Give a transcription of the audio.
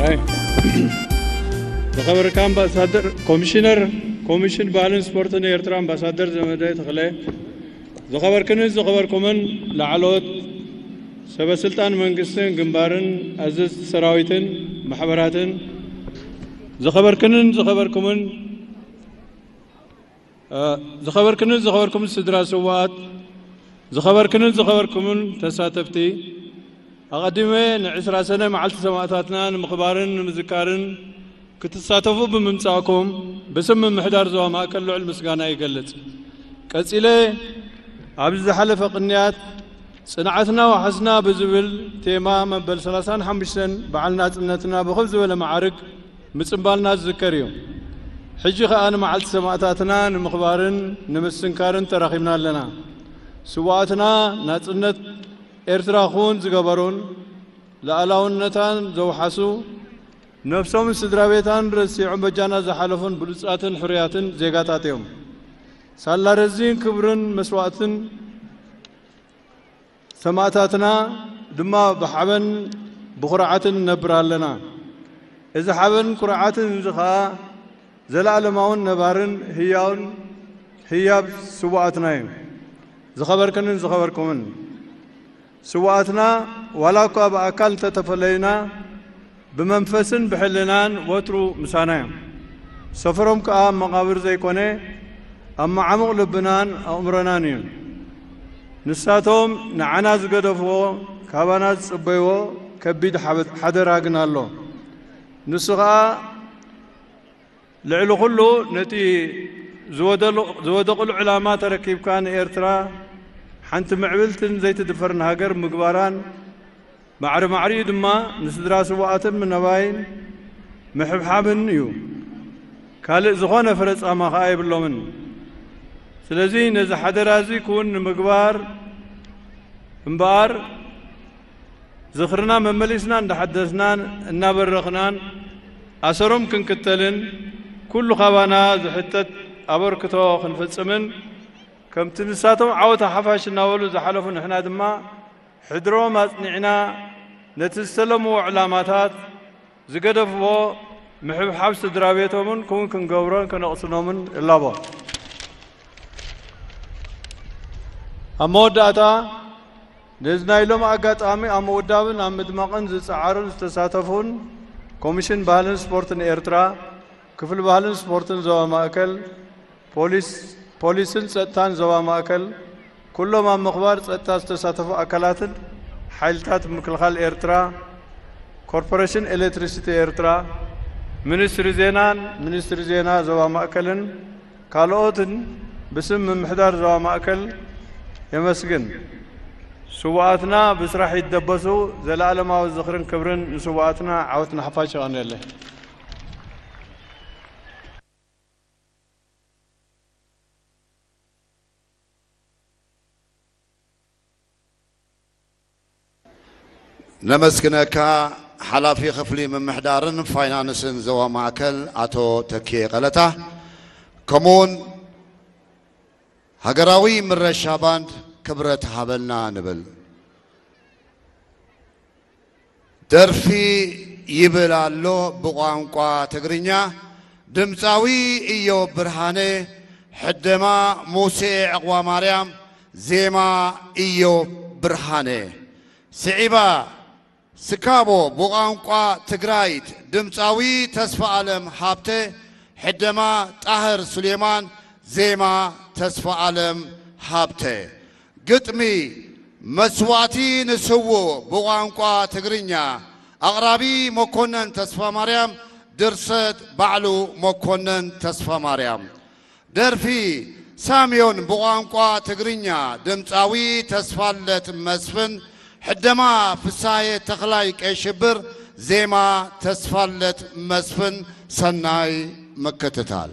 ኣይ። ዝኸበርካ ኣምባሳደር፣ ኮሚሽነር ኮሚሽን ባህልን ስፖርትን ኤርትራ ኣምባሳደር ዘመደ ተኽለ፣ ዝኸበርክንን ዝኸበርኩምን ላዕለዎት ሰበ ስልጣን መንግስትን ግንባርን ኣዘዝቲ ሰራዊትን ማሕበራትን፣ ዝኸበርክንን ዝኸበርኩምን ዝኸበርክንን ዝኸበርኩምን ስድራ ስውኣት፣ ዝኸበርክንን ዝኸበርኩምን ተሳተፍቲ፣ ኣቐዲመ ንዕስራ ሰነ መዓልቲ ሰማእታትና ንምኽባርን ንምዝካርን ክትሳተፉ ብምምጻእኩም ብስም ምምሕዳር ዞባ ማእከል ልዑል ምስጋና ይገልጽ። ቀጺለ ኣብዚ ዝሓለፈ ቅንያት ጽንዓትና ዋሕስና ብዝብል ቴማ መበል ሰላሳን ሓሙሽተን በዓል ናጽነትና ብኽብ ዝበለ መዓርግ ምጽንባልና ዝዝከር እዩ። ሕጂ ከኣ ንመዓልቲ ሰማእታትና ንምኽባርን ንምስንካርን ተራኺብና ኣለና። ስውኣትና ናጽነት ኤርትራ ክውን ዝገበሩን ልኣላውነታን ዘውሓሱ፣ ነፍሶምን ስድራ ቤታን ረሲዖም በጃና ዝሓለፉን ብሉጻትን ሕሩያትን ዜጋታት እዮም። ሳላ ረዚን ክብርን መስዋእትን ሰማእታትና ድማ ብሓበን ብኹርዓትን ንነብር ኣለና። እዚ ሓበን ኩርዓትን እዚ ኸኣ ዘለኣለማውን ነባርን ህያውን ህያብ ስውኣትና እዩ። ዝኸበርክንን ዝኸበርኩምን ስውኣትና ዋላ እኳ ብኣካል እንተተፈለዩና፣ ብመንፈስን ብሕልናን ወትሩ ምሳና እዮም። ሰፈሮም ከኣ ኣብ መቓብር ዘይኮነ፣ ኣብ መዓሙቕ ልብናን ኣእምሮናን እዩ። ንሳቶም ንዓና ዝገደፍዎ፣ ካባና ዝጽበይዎ ከቢድ ሓበ-፣ ሓደራ ግን ኣሎ። ንሱ ኸኣ ልዕሊ ኩሉ ነቲ ዝወደሉ-፣ ዝወደቕሉ ዕላማ ተረኪብካ ንኤርትራ ሓንቲ ምዕብልትን ዘይትድፈርን ሃገር ምግባራን፣ ማዕረ ማዕሪኡ ድማ ንስድራ ስውኣትን ምነባይን ምሕብሓብን እዩ። ካልእ ዝኾነ ፍረ ጻማ ኸኣ የብሎምን። ስለዚ ነዚ ሓደራ እዚ ክውን ንምግባር እምበኣር፣ ዝኽርና መመሊስና እንዳሓደስናን እናበረኽናን ኣሰሮም ክንክተልን፣ ኩሉ ካባና ዝሕተት ኣበርክቶ ክንፍጽምን፣ ከምቲ ንሳቶም ዓወት ሓፋሽ እናበሉ ዝሓለፉ ንሕና ድማ ሕድሮም ኣጽኒዕና ነቲ ዝተለምዎ ዕላማታት ዝገደፍዎ ምሕብሓብ ስድራ ቤቶምን ክውን ክንገብሮን ከነቕስኖምን እላቦ። ኣብ መወዳእታ፣ ነዚ ናይ ሎሚ ኣጋጣሚ ኣብ ምውዳብን ኣብ ምድማቕን ዝጸዓሩን ዝተሳተፉን ኮሚሽን ባህልን ስፖርትን ኤርትራ፣ ክፍሊ ባህልን ስፖርትን ዞባ ማእከል፣ ፖሊስ፣ ፖሊስን ጸጥታን ዞባ ማእከል፣ ኩሎም ኣብ ምኽባር ጸጥታ ዝተሳተፉ ኣካላትን ሓይልታት ምክልኻል ኤርትራ፣ ኮርፖሬሽን ኤሌክትሪሲቲ ኤርትራ፣ ሚኒስትሪ ዜናን ሚኒስትሪ ዜና ዞባ ማእከልን ካልኦትን ብስም ምምሕዳር ዞባ ማእከል የመስግን። ስውኣትና ብስራሕ ይደበሱ። ዘለኣለማዊ ዝኽርን ክብርን ንስውኣትና። ዓወት ንሓፋሽ። የቐንየለይ። ነመስግነካ ሓላፊ ክፍሊ ምምሕዳርን ፋይናንስን ዞባ ማእከል ኣቶ ተኪኤ ቀለታ፣ ከምኡውን ሃገራዊ ምረሻ ባንድ ክብረት ሃበልና ንብል። ደርፊ ይብል ኣሎ ብቋንቋ ትግርኛ፣ ድምፃዊ እዮብ ብርሃነ፣ ሕደማ ሙሴ ዕቕባ ማርያም፣ ዜማ እዮብ ብርሃነ። ስዒባ ስካቦ ብቋንቋ ትግራይት፣ ድምፃዊ ተስፋ ኣለም ሃብተ፣ ሕደማ ጣህር ሱሌማን፣ ዜማ ተስፋ ኣለም ሃብተ። ግጥሚ መስዋእቲ ንስውእ ብቋንቋ ትግርኛ፣ ኣቕራቢ መኮነን ተስፋ ማርያም፣ ድርሰት ባዕሉ መኮነን ተስፋ ማርያም። ደርፊ ሳምዮን ብቋንቋ ትግርኛ፣ ድምፃዊ ተስፋለት መስፍን፣ ሕደማ ፍሳየ ተኽላይ ቀይ ሽብር፣ ዜማ ተስፋለት መስፍን። ሰናይ ምክትታል።